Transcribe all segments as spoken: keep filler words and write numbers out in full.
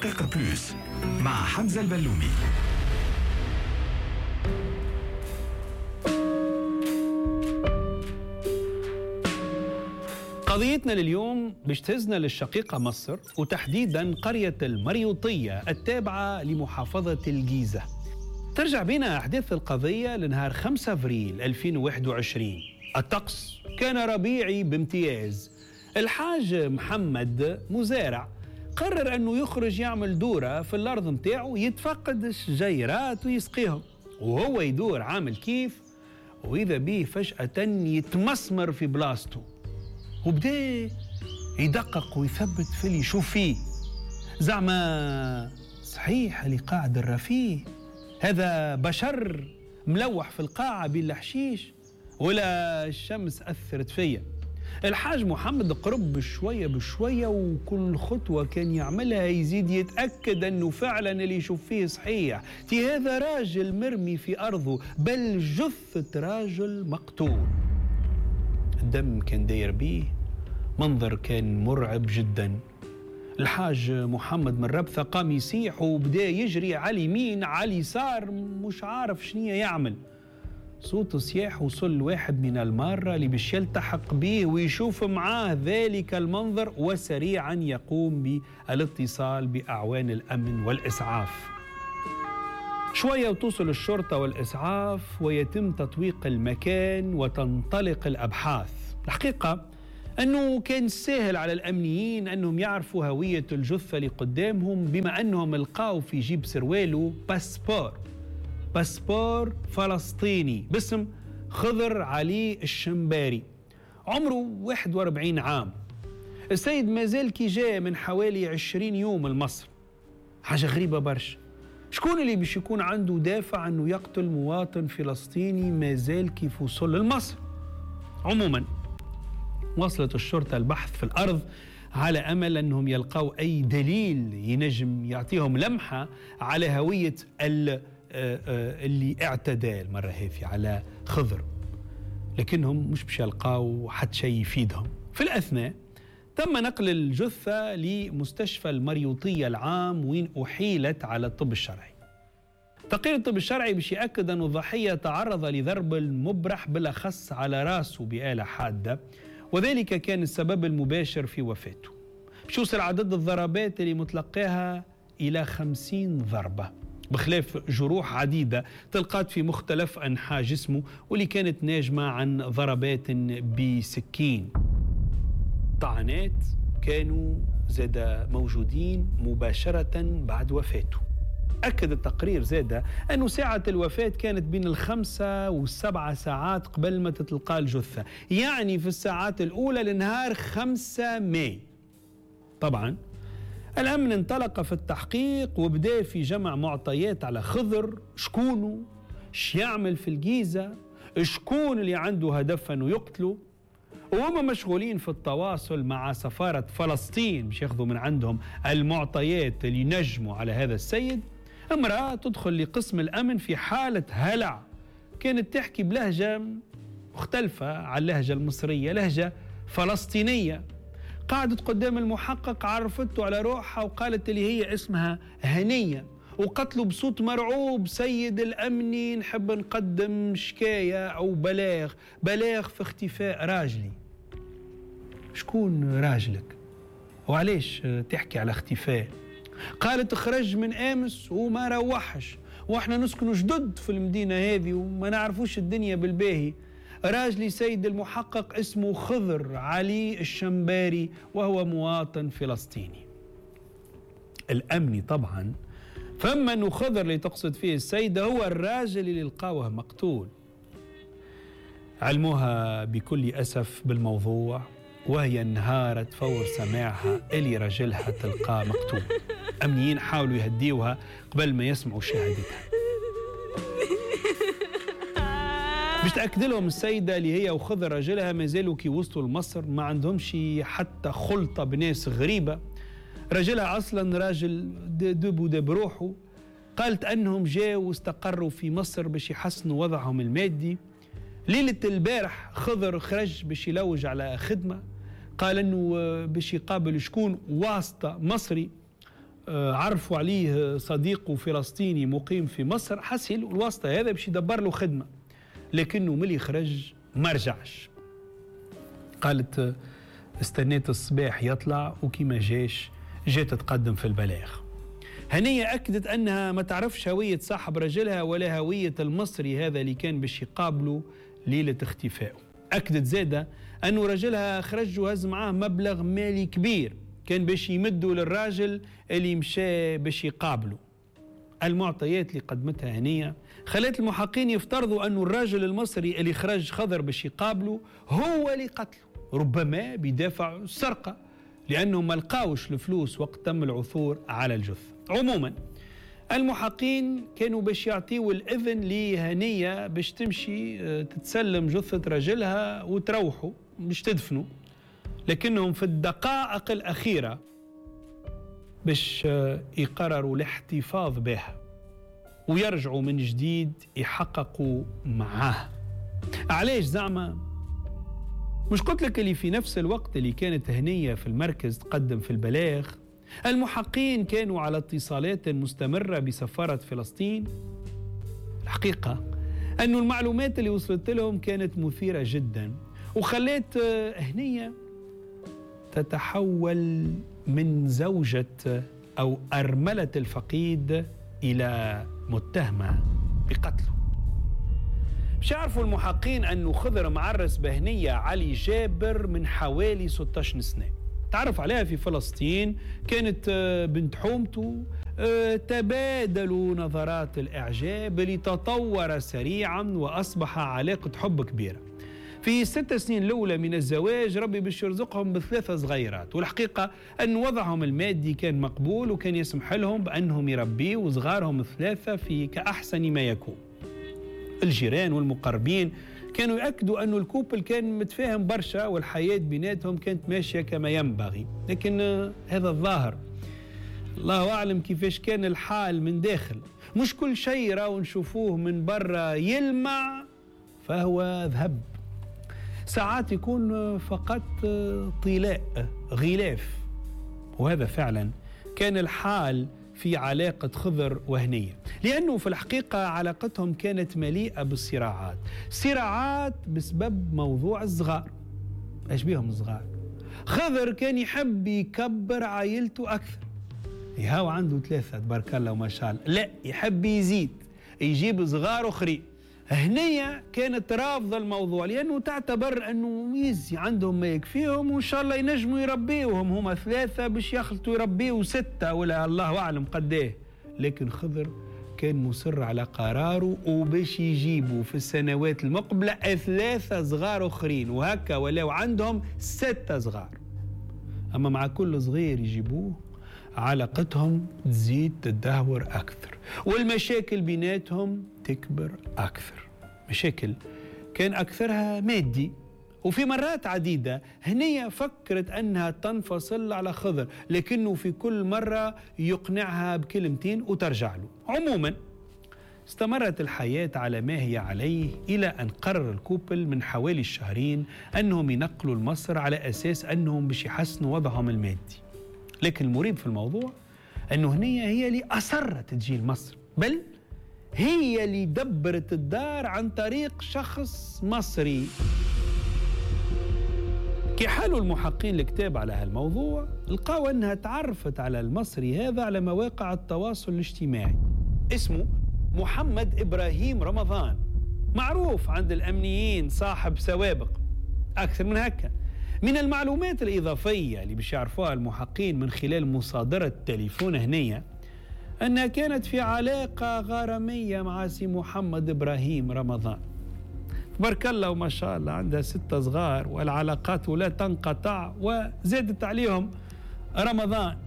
الحقيقة plus مع حمزة البلومي. قضيتنا لليوم باش تهزنا للشقيقة مصر، وتحديدا قرية المريوطية التابعة لمحافظة الجيزة. ترجع بنا أحداث القضية لنهار خمسة أفريل ألفين وواحد وعشرين. الطقس كان ربيعي بامتياز. الحاج محمد مزارع قرر أنه يخرج يعمل دورة في الأرض متاعه، يتفقد الشجيرات ويسقيهم، وهو يدور عامل كيف وإذا به فجأة يتمسمر في بلاصته، وبدا يدقق ويثبت في اللي يشوف فيه. زعما صحيح اللي قاعد الرفيه هذا بشر ملوح في القاعة بين الحشيش، ولا الشمس أثرت فيا؟ الحاج محمد قرب بشوية بشوية، وكل خطوة كان يعملها يزيد يتأكد أنه فعلا اللي يشوف فيه صحيح. تي هذا راجل مرمي في أرضه، بل جثة راجل مقتول. الدم كان داير بيه، منظر كان مرعب جدا. الحاج محمد من ربثة قام يسيح وبدا يجري على اليمين على اليسار، مش عارف شنية يعمل. صوت صياح وصل لواحد من المارة اللي باش يلتحق به ويشوف معاه ذلك المنظر، وسريعا يقوم بالاتصال بأعوان الأمن والإسعاف. شوية وتوصل الشرطة والإسعاف ويتم تطويق المكان وتنطلق الأبحاث. الحقيقة أنه كان سهل على الأمنيين أنهم يعرفوا هوية الجثة اللي قدامهم، بما أنهم لقاو في جيب سروالو passeport passeport فلسطيني باسم خضر علي الشنباري، عمره واحد وأربعين عام. السيد مازال كي جاء من حوالي عشرين يوم لمصر. حاجة غريبة برشا، شكون اللي باش يكون عنده دافع أنه يقتل مواطن فلسطيني مازال كيف وصل لمصر؟ عموما وصلت الشرطة البحث في الأرض على أمل أنهم يلقوا أي دليل ينجم يعطيهم لمحة على هوية اللي اعتدى المرة هذه على خضر، لكنهم مش باش يلقاو حتى شيء يفيدهم. في الأثناء تم نقل الجثة لمستشفى المريوطية العام وين أحيلت على الطب الشرعي. تقرير الطب الشرعي باش يأكد أن الضحية تعرض لضرب المبرح بالأخص على رأسه بآلة حادة، وذلك كان السبب المباشر في وفاته. باش يوصل عدد الضربات اللي متلقاها إلى خمسين ضربة، بخلاف جروح عديدة تلقات في مختلف أنحاء جسمه واللي كانت ناجمة عن ضربات بسكين. طعنات كانوا زاد موجودين مباشرة بعد وفاته. أكد التقرير زاد أن ساعة الوفاة كانت بين الخمسة والسبعة ساعات قبل ما تتلقى الجثة، يعني في الساعات الأولى لنهار خمسة ماي. طبعا الأمن انطلق في التحقيق وبدأ في جمع معطيات على خضر، شكونه، اش يعمل في الجيزة، شكون اللي عنده هدف أنه يقتله. وهم مشغولين في التواصل مع سفارة فلسطين باش ياخذوا من عندهم المعطيات اللي نجموا على هذا السيد. امرأة تدخل لقسم الأمن في حالة هلع، كانت تحكي بلهجة مختلفة عن اللهجة المصرية، لهجة فلسطينية. قعدت قدام المحقق، عرفته على روحها وقالت اللي هي اسمها هنية، وقتلوا بصوت مرعوب: سيد الأمني نحب نقدم شكاية أو بلاغ، بلاغ في اختفاء راجلي. شكون راجلك؟ وعليش تحكي على اختفاء؟ قالت خرج من أمس وما روحش، وإحنا نسكن جدد في المدينة هذه وما نعرفوش الدنيا بالباهي. راجلي سيد المحقق اسمه خضر علي الشنباري وهو مواطن فلسطيني. الأمني طبعا فما أنه خضر اللي تقصد فيه السيدة هو الراجل اللي لقاوه مقتول. علموها بكل أسف بالموضوع، وهي انهارت فور سماعها اللي رجلها تلقاه مقتول. أمنيين حاولوا يهديوها قبل ما يسمعوا شهادتها. باش تأكد لهم السيدة اللي هي وخضر رجلها ما زالوا كي وصلوا لمصر ما عندهمش حتى خلطة بناس غريبة، رجلها أصلا راجل دب ودب روحه. قالت أنهم جاوا واستقروا في مصر باش يحسنوا وضعهم المادي. ليلة البارح خضر خرج باش يلوج على خدمة، قال أنه باش يقابل شكون واسطة مصري. عرفوا عليه صديقه فلسطيني مقيم في مصر، حسيل الواسطة هذا باش يدبر له خدمة، لكنه ملي خرج ما رجعش. قالت استنيت الصباح يطلع وكي جاش جات تقدم في البلاغ. هنية أكدت أنها ما تعرفش هوية صاحب رجلها ولا هوية المصري هذا اللي كان باش يقابله ليلة اختفائه. أكدت زادة أنه رجلها خرج وهز معاه مبلغ مالي كبير كان باش يمدوا للراجل اللي مشى باش يقابله. المعطيات اللي قدمتها هنية خلت المحقين يفترضوا أنه الراجل المصري اللي خرج خضر باش يقابله هو اللي قتله، ربما بدافع السرقة، لأنه ما لقاوش الفلوس وقت تم العثور على الجثة. عموما المحقين كانوا باش يعطيوا الإذن لهنية باش تمشي تتسلم جثة رجلها وتروحوا باش تدفنوا، لكنهم في الدقائق الأخيرة باش يقرروا الاحتفاظ بها ويرجعوا من جديد يحققوا معاه. علاش زعما؟ مش قلت لك اللي في نفس الوقت اللي كانت هنية في المركز تقدم في البلاغ، المحقين كانوا على اتصالات مستمرة بسفارة فلسطين. الحقيقة أن المعلومات اللي وصلت لهم كانت مثيرة جدا، وخلت هنية تتحول من زوجة أو أرملة الفقيد إلى متهمة بقتله. مش يعرفوا المحقين أنه خضر معرس بهنية علي جابر من حوالي ستة عشر سنة، تعرف عليها في فلسطين، كانت بنت حومته. تبادلوا نظرات الإعجاب اللي تطور سريعا وأصبح علاقة حب كبيرة. في ست سنين الأولى من الزواج ربي باش يرزقهم بثلاثة صغيرات، والحقيقة أن وضعهم المادي كان مقبول وكان يسمح لهم بأنهم يربيوا صغارهم الثلاثة في كأحسن ما يكون. الجيران والمقربين كانوا يأكدوا أن الكوبل كان متفاهم برشا والحياة بيناتهم كانت ماشية كما ينبغي، لكن هذا الظاهر الله أعلم كيفاش كان الحال من داخل. مش كل شيء راهو نشوفوه من برا يلمع فهو ذهب، ساعات يكون فقط طلاء غلاف، وهذا فعلا كان الحال في علاقة خضر وهنية، لأنه في الحقيقة علاقتهم كانت مليئة بالصراعات، صراعات بسبب موضوع الصغار. ايش بيهم الصغار؟ خضر كان يحب يكبر عائلته أكثر، يهاو عنده ثلاثة تبارك الله وما شاء الله، لا يحب يزيد يجيب صغار أخرين. هنية كانت رافضة الموضوع لأنه تعتبر أنه يزي عندهم ما يكفيهم وإن شاء الله ينجموا يربيوهم، هما ثلاثة باش يخلطوا يربيوا ستة ولا الله أعلم قديه. لكن خضر كان مصر على قراره وباش يجيبوا في السنوات المقبلة ثلاثة صغار أخرين، وهكا ولاو عندهم ستة صغار. أما مع كل صغير يجيبوه علاقتهم تزيد تدهور أكثر والمشاكل بيناتهم تكبر أكثر. مشاكل كان أكثرها مادي، وفي مرات عديدة هنية فكرت أنها تنفصل على خضر، لكنه في كل مرة يقنعها بكلمتين وترجع له. عموما استمرت الحياة على ما هي عليه إلى أن قرر الكوبل من حوالي الشهرين أنهم ينقلوا لمصر على أساس أنهم باش يحسنوا وضعهم المادي. لكن المريب في الموضوع أنه هنية هي اللي أصرت تجي لمصر، بل هي اللي دبرت الدار عن طريق شخص مصري. كي حالوا المحقين الكتاب على هالموضوع لقاو أنها تعرفت على المصري هذا على مواقع التواصل الاجتماعي، اسمه محمد إبراهيم رمضان، معروف عند الأمنيين صاحب سوابق. أكثر من هكا من المعلومات الإضافية اللي باش يعرفوها المحقين من خلال مصادرة تليفون هنية أنها كانت في علاقة غرامية مع سي محمد إبراهيم رمضان. تبارك الله وما شاء الله عندها ستة صغار والعلاقات لا تنقطع، وزادت عليهم رمضان،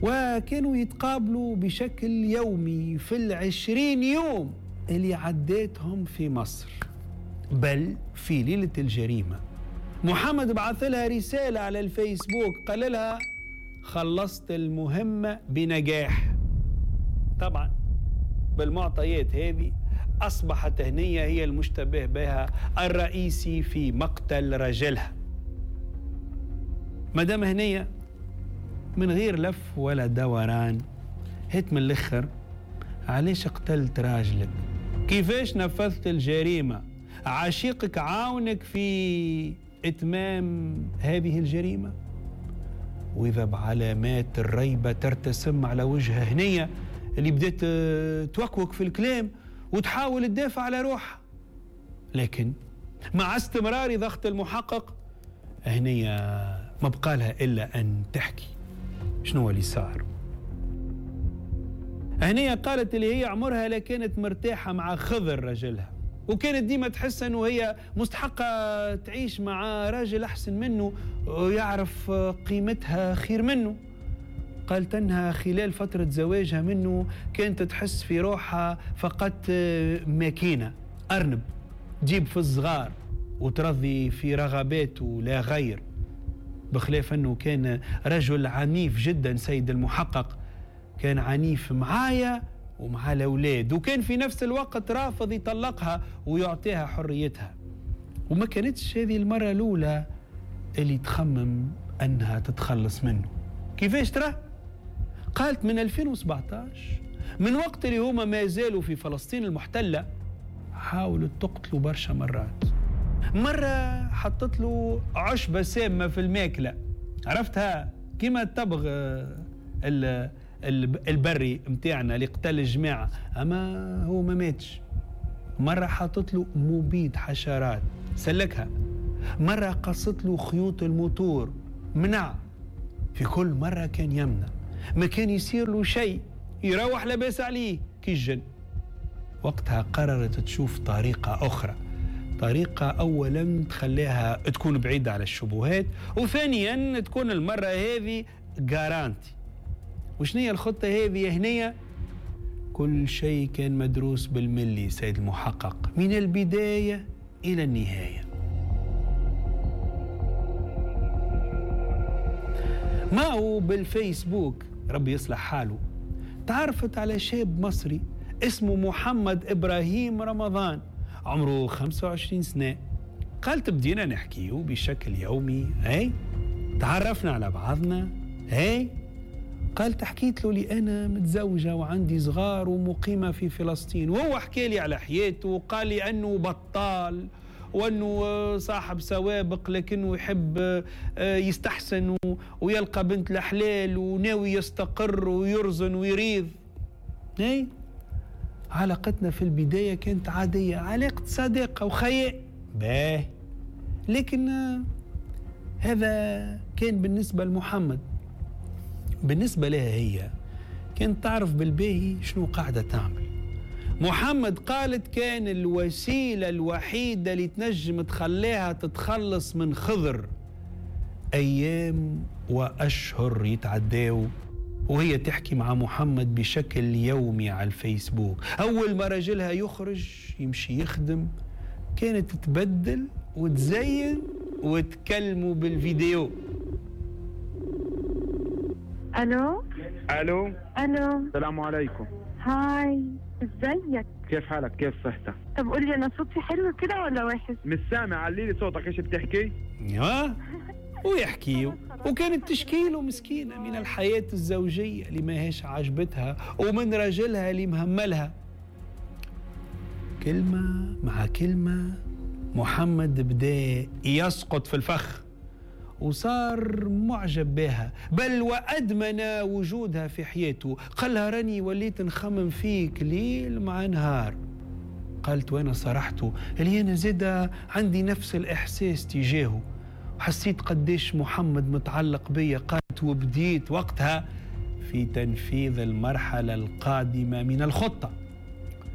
وكانوا يتقابلوا بشكل يومي في العشرين يوم اللي عديتهم في مصر. بل في ليلة الجريمة محمد بعث لها رسالة على الفيسبوك قال لها خلصت المهمة بنجاح. طبعا بالمعطيات هذه أصبحت هنية هي المشتبه بها الرئيسي في مقتل رجلها. مدام هنية من غير لف ولا دوران، هات من الآخر، علاش قتلت راجلك؟ كيفاش نفذت الجريمة؟ عشيقك عاونك في إتمام هذه الجريمة؟ وإذا بعلامات الريبة ترتسم على وجهها هنية اللي بدأت توكوك في الكلام وتحاول تدافع على روحها، لكن مع استمرار ضغط المحقق هنية ما بقالها إلا أن تحكي شنو اللي صار. هنية قالت اللي هي عمرها لا كانت مرتاحة مع خضر رجلها، وكانت ديما تحس أنه هي مستحقة تعيش مع راجل أحسن منه ويعرف قيمتها خير منه. قالت أنها خلال فترة زواجها منه كانت تحس في روحها فقط ماكينة أرنب تجيب في الصغار وترضي في رغباته لا غير، بخلاف أنه كان رجل عنيف جدا سيد المحقق، كان عنيف معايا ومع الأولاد، وكان في نفس الوقت رافض يطلقها ويعطيها حريتها. وما كانتش هذه المرة الأولى اللي تخمم أنها تتخلص منه. كيفاش ترى؟ قالت من ألفين وسبعتاش، من وقت اللي هما ما زالوا في فلسطين المحتلة، حاولت تقتله برشا مرات. مرة حطت له عشبة سامة في الماكلة، عرفتها كما الطبغ البري متاعنا اللي قتل الجماعة، أما هو ما ماتش. مرة حطت له مبيد حشرات سلكها، مرة قصت له خيوط الموتور منع. في كل مرة كان يمنع، ما كان يصير له شيء، يروح لباس عليه كي الجن. وقتها قررت تشوف طريقة أخرى، طريقة أولا تخليها تكون بعيدة على الشبهات، وثانيا تكون المرة هذه جارانتي. وشنية الخطة هذه هنية؟ كل شيء كان مدروس بالملي سيد المحقق، من البداية إلى النهاية. ما هو بالفيسبوك ربي يصلح حاله، تعرفت على شاب مصري اسمه محمد إبراهيم رمضان، عمره خمسة وعشرين سنة. قالت بدينا نحكيه بشكل يومي، هاي تعرفنا على بعضنا، هاي قالت حكيت له لي أنا متزوجة وعندي صغار ومقيمة في فلسطين، وهو حكى لي على حياته وقال لي أنه بطال وأنه صاحب سوابق لكنه يحب يستحسن ويلقى بنت الحلال وناوي يستقر ويرزن ويريض. هاي علاقتنا في البداية كانت عادية، علاقة صداقة وخياء باه، لكن هذا كان بالنسبة لمحمد. بالنسبة لها هي كانت تعرف بالباهي شنو قاعدة تعمل. محمد قالت كان الوسيلة الوحيدة اللي تنجم تخليها تتخلص من خضر. أيام وأشهر يتعداو وهي تحكي مع محمد بشكل يومي على الفيسبوك. أول ما رجلها يخرج يمشي يخدم كانت تتبدل وتزين وتكلموا بالفيديو. الو الو الو، السلام عليكم. هاي، ازيك؟ كيف حالك؟ كيف صحتك؟ طب قولي، انا صوتي حلو كده ولا وحش؟ مش سامع، علي لي صوتك، ايش بتحكي؟ ها ويحكي، وكانت تشكيله مسكينة من الحياة الزوجية اللي ما هيش عاجبتها ومن رجلها اللي مهملها. كلمة مع كلمة محمد بدأ يسقط في الفخ وصار معجب بها، بل وأدمن وجودها في حياته. قالها راني وليت نخمم فيك ليل مع نهار. قالت وأنا صرحته اللي أنا زادة عندي نفس الإحساس تجاهه، حسيت قديش محمد متعلق بيا. قالت وبديت وقتها في تنفيذ المرحلة القادمة من الخطة.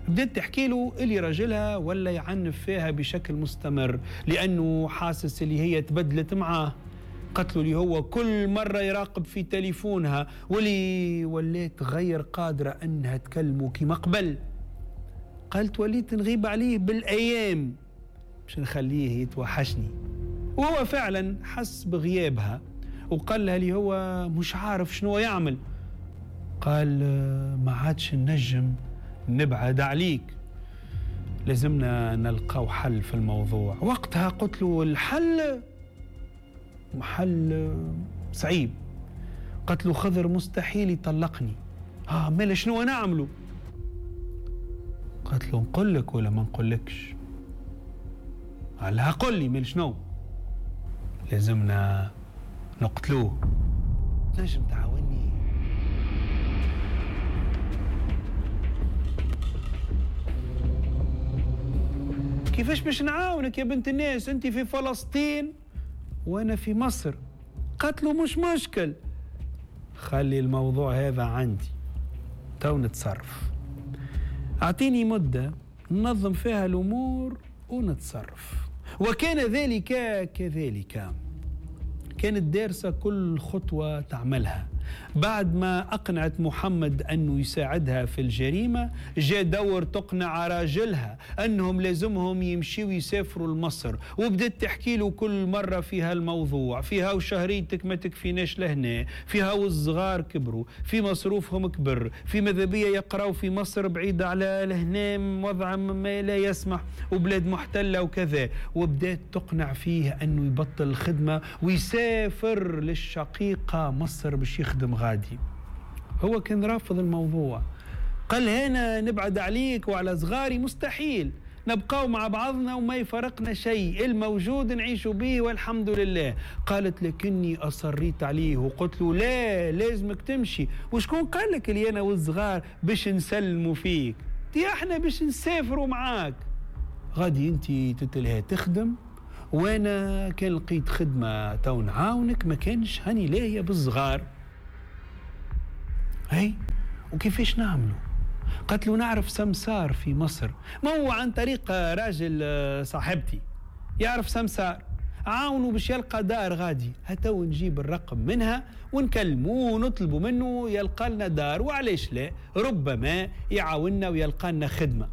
بدأت تحكي له اللي رجلها ولا يعنف فيها بشكل مستمر لأنه حاسس اللي هي تبدلت معاه. قتله اللي هو كل مرة يراقب في تليفونها واللي وليت غير قادرة أنها تكلمه كما قبل. قالت وليت نغيب عليه بالأيام باش نخليه يتوحشني. وهو فعلا حس بغيابها وقال لها اللي هو مش عارف شنو يعمل. قال ما عادش نجم نبعد عليك، لازمنا نلقاو حل في الموضوع. وقتها قلت له الحل حل صعيب قالت له خضر مستحيل يطلقني. اه مالا شنو نعمله؟ قالت له نقول لك ولا ما نقولكش؟ قال لها قل لي مال شنو؟ لازمنا نقتلوه، تنجم تعاوني؟ كيفاش باش نعاونك يا بنت الناس؟ انت في فلسطين وانا في مصر. قالت له مش مشكل، خلي الموضوع هذا عندي تو نتصرف، اعطيني مدة ننظم فيها الأمور ونتصرف. وكان ذلك كذلك. كانت دارسة كل خطوة تعملها. بعد ما أقنعت محمد أنه يساعدها في الجريمة، جاء دور تقنع راجلها أنهم لازمهم يمشيوا يسافروا لمصر، وبدت تحكي له كل مرة فيها الموضوع، فيها وشهريتك ما تكفيناش لهنا، فيها والصغار كبروا، في مصروفهم كبر، في ماذا يقراوا في مصر بعيد على لهنا، وضع ما لا يسمح، وبلاد محتلة وكذا. وبدأت تقنع فيه أنه يبطل الخدمة ويسافر للشقيقة مصر باش يخدم غادي. هو كان رافض الموضوع، قال هنا نبعد عليك وعلى صغاري مستحيل، نبقاو مع بعضنا وما يفرقنا شيء، الموجود نعيش به والحمد لله. قالت لكني أصريت عليه وقلت له لا لازمك تمشي، وشكون قال لك اللي أنا والصغار باش نسلموا فيك؟ دي احنا باش نسافروا معاك غادي، انت تتلها تخدم وانا كان لقيت خدمة تو نعاونك، ما كانش هاني لاهية بالصغار. هاي وكيفاش نعملوا؟ قالت له نعرف سمسار في مصر، ما هو عن طريق راجل صاحبتي يعرف سمسار، عاونوا باش يلقى دار غادي، هتو نجيب الرقم منها ونكلموه ونطلبوا منه يلقى لنا دار، وعليش لا، ربما يعاوننا ويلقى لنا خدمة.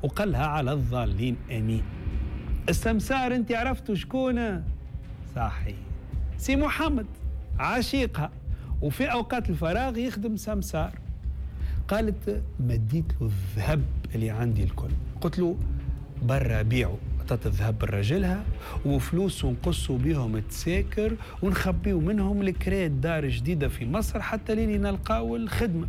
وقالها على الضالين امين. السمسار انت عرفتوا شكون؟ صحيح، سي محمد عشيقها، وفي أوقات الفراغ يخدم سمسار. قالت مديت له الذهب اللي عندي الكل، قلت له برا بيعه، عطت الذهب لراجلها وفلوس ونقصوا بيهم التساكر ونخبيو منهم الكريت دار جديدة في مصر حتى لين نلقاو الخدمة.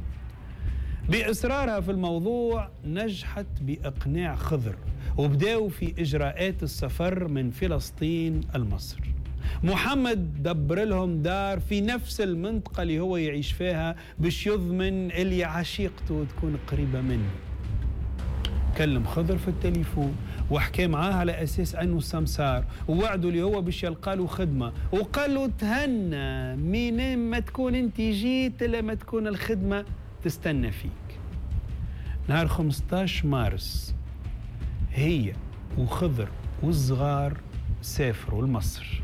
بإصرارها في الموضوع نجحت بإقناع خضر، وبداوا في إجراءات السفر من فلسطين لمصر. محمد دبر لهم دار في نفس المنطقة اللي هو يعيش فيها باش يضمن اللي عشيقته تكون قريبة منه. كلم خضر في التليفون وحكى معاه على أساس أنه سمسار، ووعده اللي هو باش يلقى له خدمة، وقال له تهنى من ما تكون انت جيت لما تكون الخدمة تستنى فيك. نهار خمسة عشر مارس هي وخضر والصغار سافروا لمصر.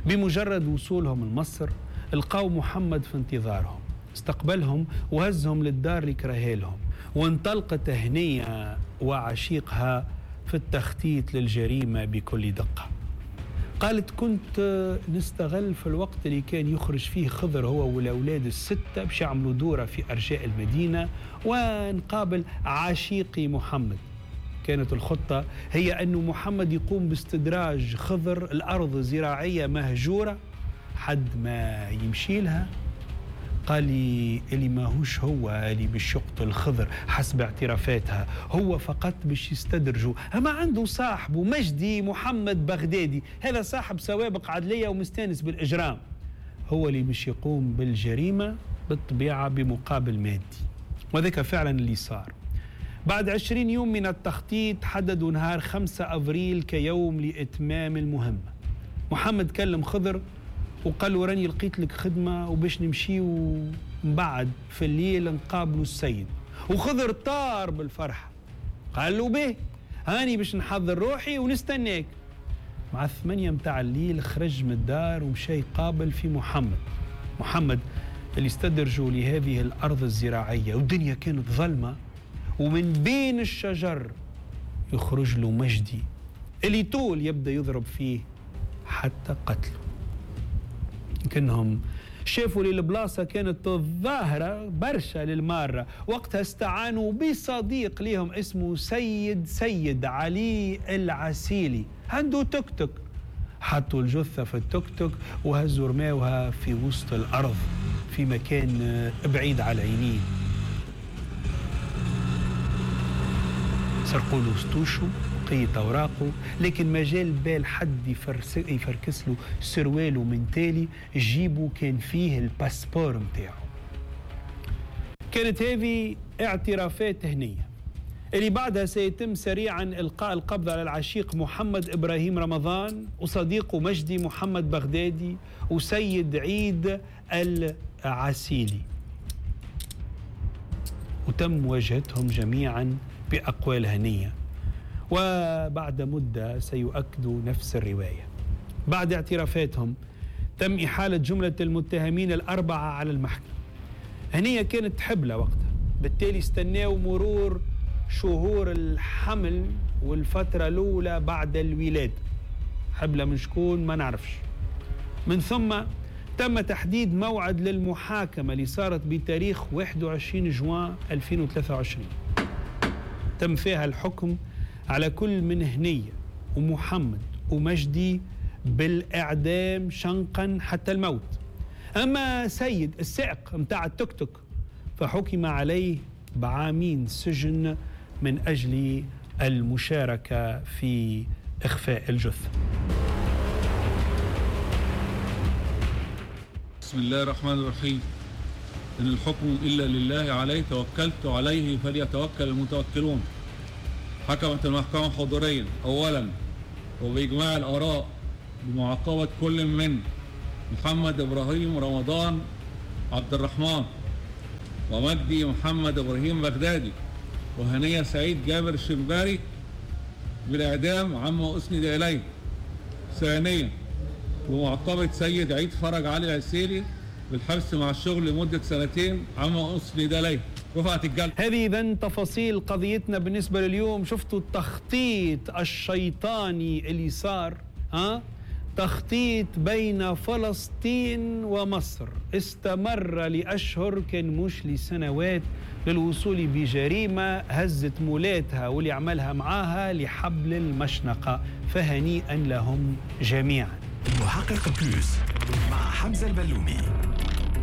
بمجرد وصولهم لمصر لقاو محمد في انتظارهم، استقبلهم وهزهم للدار اللي كرهها لهم، وانطلقت هنية وعشيقها في التخطيط للجريمة بكل دقة. قالت كنت نستغل في الوقت اللي كان يخرج فيه خضر هو والأولاد الستة باش يعملوا دورة في أرجاء المدينة ونقابل عشيقي محمد. كانت الخطة هي أن محمد يقوم باستدراج خضر الأرض زراعية مهجورة حد ما يمشي لها. قال لي اللي ماهوش هو اللي باش يقتل خضر حسب اعترافاتها، هو فقط باش يستدرجه. أما عنده صاحبه مجدي محمد بغدادي، هذا صاحب سوابق عدلية ومستانس بالإجرام، هو اللي باش يقوم بالجريمة بالطبيعة بمقابل مادي. وذلك فعلا اللي صار. بعد عشرين يوم من التخطيط حددوا نهار خمسة أفريل كيوم لإتمام المهمة. محمد كلم خضر وقال له راني لقيت لك خدمة وباش نمشي ومن بعد في الليل نقابلوا السيد. وخضر طار بالفرحة، قال له به هاني باش نحضر روحي ونستناك. مع الثمانية متاع الليل خرج من الدار ومشى يقابل في محمد. محمد اللي استدرجوا لهذه الأرض الزراعية، والدنيا كانت ظلمة، ومن بين الشجر يخرج له مجدي اللي طول يبدأ يضرب فيه حتى قتله. يمكنهم شافوا لي البلاصة كانت الظاهرة برشا للمارة، وقتها استعانوا بصديق ليهم اسمه سيد سيد علي العسيلي، عنده توك توك. حطوا الجثة في التوك توك وهزوا رماوها في وسط الأرض في مكان بعيد على العينين. سرقوا له ستوشو بقية أوراقه، لكن ما جال بال حد يفركس له سرواله من تالي، جيبه كان فيه ال passeport متاعه. كانت هذه اعترافات هنية اللي بعدها سيتم سريعا إلقاء القبض على العشيق محمد إبراهيم رمضان وصديقه مجدي محمد بغدادي وسيد عيد العسيلي، وتم مواجهتهم جميعا بأقوال هنية، وبعد مدة سيؤكدوا نفس الرواية. بعد اعترافاتهم تم إحالة جملة المتهمين الأربعة على المحكمة. هنية كانت حبلة وقتها، بالتالي استناوا مرور شهور الحمل والفترة الأولى بعد الولادة. حبلة من شكون ما نعرفش. من ثم تم تحديد موعد للمحاكمة اللي صارت بتاريخ واحد وعشرين جوان ألفين وثلاثة وعشرين. تم فيها الحكم على كل من هنية ومحمد ومجدي بالإعدام شنقا حتى الموت. أما سيد السائق متاع التوك توك فحكم عليه بعامين سجن من أجل المشاركة في إخفاء الجثة. بسم الله الرحمن الرحيم. إن الحكم إلا لله، عليه توكلت عليه فليتوكل المتوكلون. حكمت المحكمة حضوريا أولا وبإجماع الآراء بمعاقبة كل من محمد إبراهيم رمضان عبد الرحمن ومجدي محمد إبراهيم بغدادي وهنية سعيد جابر الشنباري بالإعدام عما أسند إليه. ثانيا ومعاقبة سيد عيد فرج علي العسيلي بالحبس مع الشغل لمدة سنتين عما أسند إليه. رفعت الجلسة. هذه إذن تفاصيل قضيتنا بالنسبة لليوم. شفتوا التخطيط الشيطاني اللي صار، ها؟ تخطيط بين فلسطين ومصر استمر لأشهر كان مش لسنوات للوصول بجريمة هزت مولاتها واللي عملها معاها لحبل المشنقة، فهنيئا لهم جميعا. المحقق بلوس مع حمزة البلومي.